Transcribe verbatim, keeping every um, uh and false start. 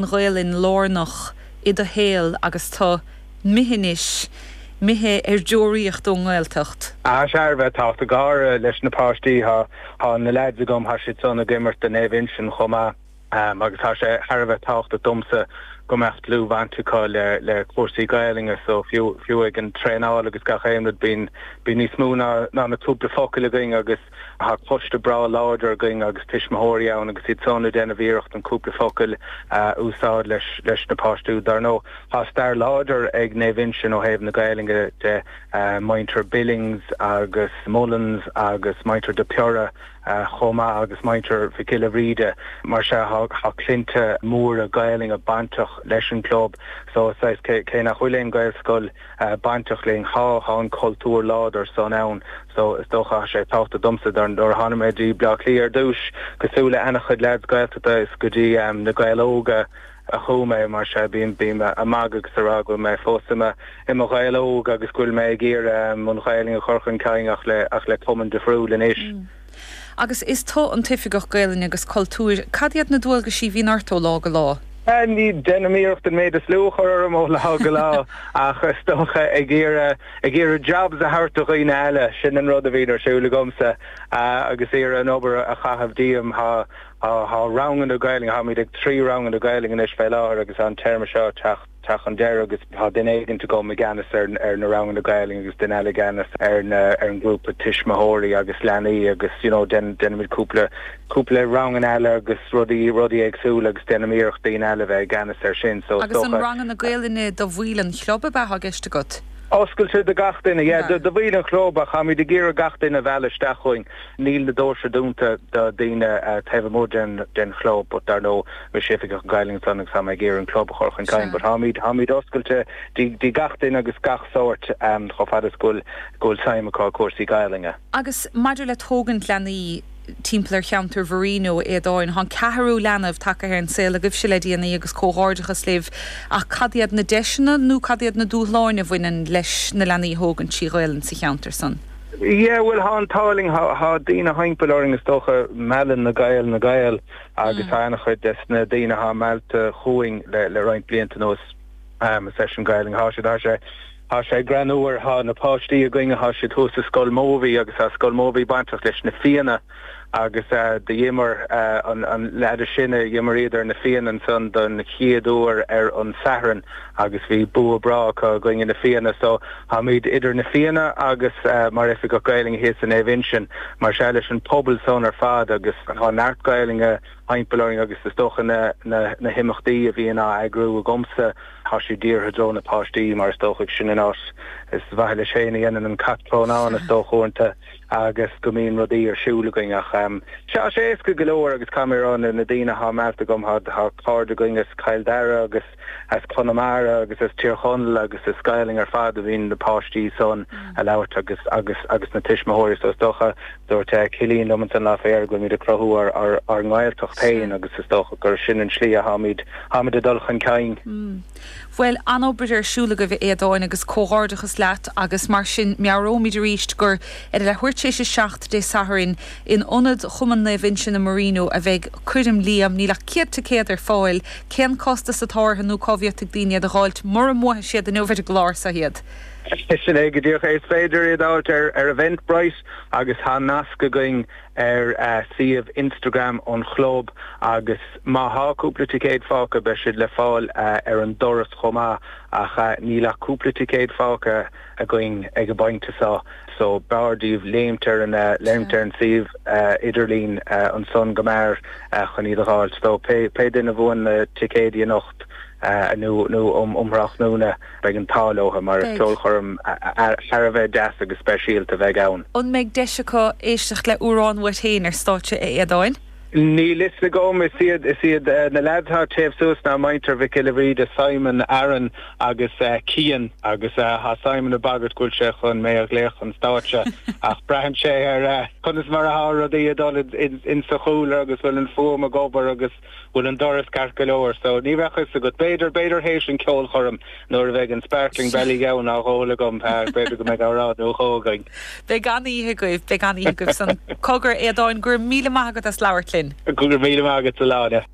Ghaelainn lárnach i do shaol agus tú imithe anois, imithe ar deoraíocht ón nGaeltacht. Tá sé thar a bheith tábhachtach go háirithe leis na páistí, tá na leaids agam, tá siad san ag imirt do Naomh Uinseann chomh maith agus tá sé thar a bheith tábhachtach domsa go mbeadh dlúthbhaint acu le le cúrsaí Gaelainne so fiú fiú ag an traenáil agus gach aon rud bíonn bíonn níos mó ná ná na cúpla focal againn agus tá coiste breá láidir againn agus tuismitheoirí ann agus iad san ag déanamh iarracht an cúpla focal a úsáid leis leis na páistí. Dar ndóigh tá stair láidir ag Naomh Uinseann ó thaobh na Gaelainne de muintir Billings agus Mullins agus muintir de Piorra chomh maith agus muintir Mhic Giolla Bhríde mar sea tá clannta móra Gaelainne bainteach leis an club so saghas cé nach bhfuil aon Gaelscoil bainteach linn tá tá an cultúr láidir san ann so is dócha sé tábhachtach domsa dar nuair a tháinig mé dtí Bleá Cliath ar dtús cosúil le an-chuid lads Gaeltachta is go dtí na Gaeil Óga a chuaigh mé mar sea bím bím ag magadh agus ag rá go bhfuil mé fós i mo i mo Ghael óg agus go bhfuil mé ag iarraidh an Ghaelainn a chur chun cinn ach le ach le cumann difriúil anois. Agus is tú an tOifigeach Gaelainne agus Cultúir, cad iad na dualgaisí a bhíonn ort ó lá go lá? Ní déanaim iarracht an méid is lú a chur orm ó lá go lá ach is dócha ag iarraidh ag iarraidh jobs a thabhairt do dhaoine eile, sin an rud a bhíonn ar siúl agamsa agus iarraidh an obair a chaitheamh díom. Tá tá ranganna Gaelainne, táimid ag trí ranganna Gaelainne anois fé láthair agus an téarma seo ag teacht teacht chun deireadh agus tá duine éigint agam i gceannas ar ar na ranganna Gaelainne agus duine eile i gceannas ar na ar an ngrúpa tuismitheoirí agus leanaí agus you know déanaimid cúpla cúpla ranganna eile agus rudaí rudaí éagsúla agus déanaim iarracht daoine eile bheith i gceannas ar sin so Agus an ranganna Gaelainne do bhaill an chlub ab ea atá i gceist agat? Oscailte do gach duine, yeah, do bhaill an chlub ach táimid ag iarraidh gach duine a mhealladh isteach chugainn. Níl na doirse dúnta do daoine taobh amuigh den den chlub but dar ndóigh mise oifigeach Gaelainne ansan agus tá mé ag iarraidh an club a chur chun cinn but táimid táimid oscailte do gach duine agus gach sórt chomh fada is go bhfuil go bhfuil suim acu i cúrsaí Gaelainne. Agus maidir le tógaint leanaí, timpeall ar cheantar Mharino, a Aodáin. Tá an ceathrú leanbh tagtha ar an saol agaibhse le déanaí agus comhghairdeachas libh ach cad iad na deiseanna nó cad iad na dúshláin a bhaineann leis na leanaí a thógaint trí Ghaelainn sa cheantar san? Yeah, bhuel thá an t-ádh linn, thá daoine thimpeall orainn is dócha, meallann na Gaeil na Gaeil agus thá an-chuid des na daoine athá meallta chugainn le le roinnt blianta anuas. Is leis an Ghaelainn athá siad, thá sé Tá sé greannmhar, tá na páistí againn, tá siad thuas i Scoil Mobhí agus tá Scoil Mobhí bainteach leis na Fianna agus d'imir an leaid is sine, d'imir iad ar na Fianna ansan don chéad uair ar an Satharn agus bhí bua breá acu i gcoinne na Fianna. So táimid idir na Fianna agus mar Oifigeach Gaelainne thíos i Naomh Uinseann, mar sea leis an pobal san ar fad agus tá neart Gaelainne thimpeall orainn agus is dócha na na himeachtaí a bhíonn á eagrú agamsa, tá siad dírithe i dtreo na páistí mar is dócha sin an áit is mhaith leis féin a dhéanann an cat crónán is dócha uaireanta agus go mbíonn rudaí ar siúl againn ach tá sé éasca go leor agus caithfidh mé a rá na daoine athá meallta agam tá cairde againn as Cill Dara agus as Conamara agus as Tír Chonaill agus is Gaelainn ar fad a bhíonn na páistí san a labhairt agus agus agus na tuismitheoirí so is dócha dúirt Cillian liom ansan lá fé go bhfuilimid ag cruthú ár ár ár nGaeltacht féin agus is dócha gur sin an slí a tháimid tháimid ag dul chun cinn. Bhuel, an-obair ar siúl agaibh a Aodáin agus comhghairdeachas leat agus mar sin meabhróimid arís gur ar a leathuair tar éis a seacht Dé Sathairn in Ionad Chumann Naomh Uinseann i Marino a bheidh Coirm Liam. Níl ach céad ticéad ar fáil. Cén costas atá orthu nó cá bhféadfaidh daoine iad a dh'fháilt mura mbuafaidh siad inniu ar an gclár seo iad? Sin é go díreach é. Is féidir iad a fháilt ar ar Eventbrite agus tá nasc againn ar suíomh Instagram an chlub agus má thá cúpla ticéad fágtha beidh siad le fáil ar an doras chomh maith ach níl ach cúpla ticéad fágtha againn ag an bpointe seo so b'fhearr daoibh léimt ar an léimt ar an suíomh idirlín ansan go mear chun iad a dh'fháilt. So pé pé duine a bhuann na ticéidí anocht nó nó um um thráthnóna beidh an t-ádh leo mar is Beidh. ceolchoirm thar a bheith deas agus speisialta a bheidh ann. An mbeidh deis acu éisteacht le amhrán uait féin ar stáitse, a Aodáin? Níl fhios agam. Is iad is iad na leaids atá taobh suas ná muintir Mhic Giolla Bhríde, Simon, Aaron agus Cian agus tá Simon ag bagairt go bhfuil sé chun mé a ghlaoch chun stáitse ach braitheann sé ar conas mar atá rudaí ag dul in sa chúlra agus bhfuil an fuaim ag obair agus bhfuil an doras ceart go leor so ní bheadh fhios agat. B'fhéidir, b'fhéidir théis an ceolchoirm nuair a bheidh an Sparkling Ballygowan á dh'ól agam, b'fhéidir go mbeidh amhrán nó dhó againn. Beidh an-oíche agaibh, beidh an-oíche agaibh san. Cogar, a Aodáin, go raibh míle maith agat as labhairt linn. Go raibh míle maith agat, a Shláine.